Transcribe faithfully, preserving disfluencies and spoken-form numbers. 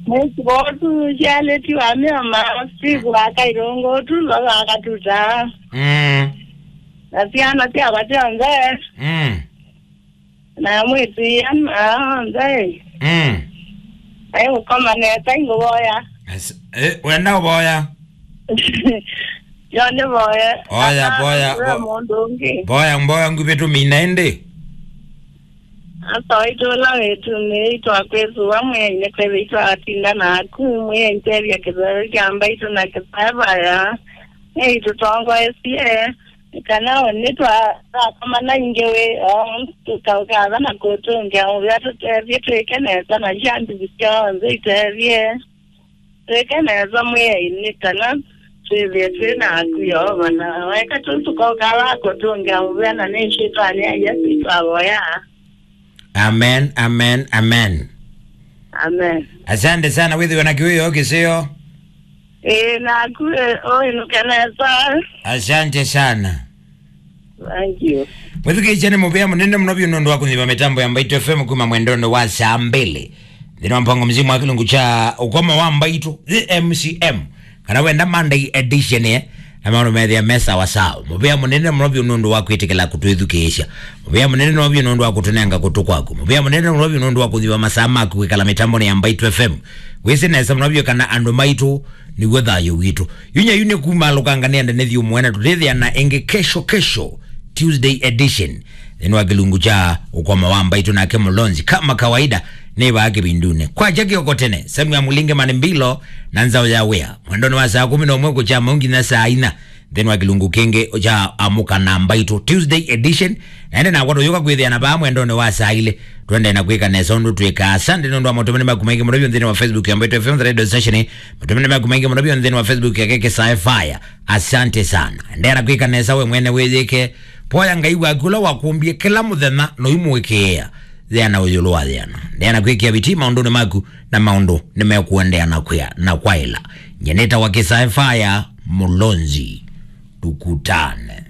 Mwĩsĩ votu syalĩtiwa mĩoma, siku akailũngũ tu, lola akatuta. Mm. Na syana syakwa syonthe. Mm. Na mwĩtu iana onthe. Mm. Ai ũkoma nesa ingũvoya. As-, eh, wenda ũvoya? Yo nĩ voya. Oya, voya, we vo-, mũndũ ũngĩ. Voya mboya nguvĩ tũmina ĩndĩ. Asa waitũ ũla wĩtu nĩ itwa kwĩsũa mwĩainĩ kwĩthĩ itwa atinda naku mwĩaitethya kĩthero kya mbaitũ na kĩsaevaya. Nĩ itũtongoesye. Kana nĩtwakomana ingĩ wĩ, o, tũkaũkatha na kũtũngĩa mũvea tũtethye twĩke nesa na sya nduvi syonthe itethye. Twĩke nesa mwĩainĩ kana twĩthĩe twĩ naku Yeova na weka tũu tũkaũkatha kũtũngĩa mũvea na nĩ syĩtwanĩ ya Yesũ itwavoya. Amen, amen, amen. Amen. Asante sana, wĩthĩwe na kĩwĩoo kĩseo. Ĩĩ, naku, eh, ũinũke nesa. Asante sana. Thank you. Mwĩthukĩĩsya nĩ mũvea mũnene mũno vyũ nũndũ wa kũnyiva mĩtambo ya Mbaitũ F M kuma mwendonĩ wa saa mbĩlĩ. Nthĩnĩ wa mpango mzima wa kĩlungu kya ũkomo wa Mbaitũ, the M C M. Kana wenda Monday edition, eh, na maũndũ methĩa me sawa sawa. Mũvea mũnene mũno vyũ nũndũ wa kwĩtĩkĩla kũtwĩthukĩĩsya. Mũvea mũnene mũno vyũ nũndũ wa kũtũnenga kũtũ kwaku. Mũvea mũnene mũno vyũ nũndũ wa kũthiwa masaa maku kwĩkala mĩtambonĩ ya Mbaitũ F M. Wĩsĩ nesa mũno vyũ kana andũ maitũ nĩw'o thayũ witũ. Yu nyayu nĩ kuma alũkanga nĩ enda nĩ thiũ mwene tũtĩthĩana ĩngĩ kesho, kesho, Tuesday edition. Nthĩnĩ wa kĩlungu kya ũkomo wa Mbaitũ nake Mũlonzi. Kama kawaida, nĩ vaa kĩvindunĩ. Kwakya kĩoko tene, Samuel Mũlinge Mani Mbilo na nzaũ ya wĩa. Mwendonĩ wa saa kũmi na ũmwe kũkya mau nginya saa ina. Nthĩnĩ wa kĩlungu kĩngĩ kya Amũka na Mbaitũ Tuesday edition. Na ĩndĩ nakwa tũyũka kwĩthĩana vaa mwendonĩ wa saa ilĩ. Twendee na kwĩka nesa ũndũ twĩkaa. Asante nũndũ wa matũmani maku maingĩ mũno vyũ nthĩnĩ wa Facebook ya Mbaitũ F M The Radio Station. Matũmani maku maingĩ mũno vyũ nthĩnĩ wa Facebook yake Kĩsae Fire. Asante sana. Endeea na kwĩka nesa we mwene wĩyĩke. Voya Ngai waku ũla wakũmbie kĩla mũthenya na ũimũĩkĩĩa. Thĩana ũyũlũ wa thĩana. Endeea na kwĩkĩa vitii maũndũnĩ maku na maũndũ nĩmekũendeea na kwĩa na kwaĩla. Nyie nĩtawa Kĩsae Fire Mũlonzi. Tukutane.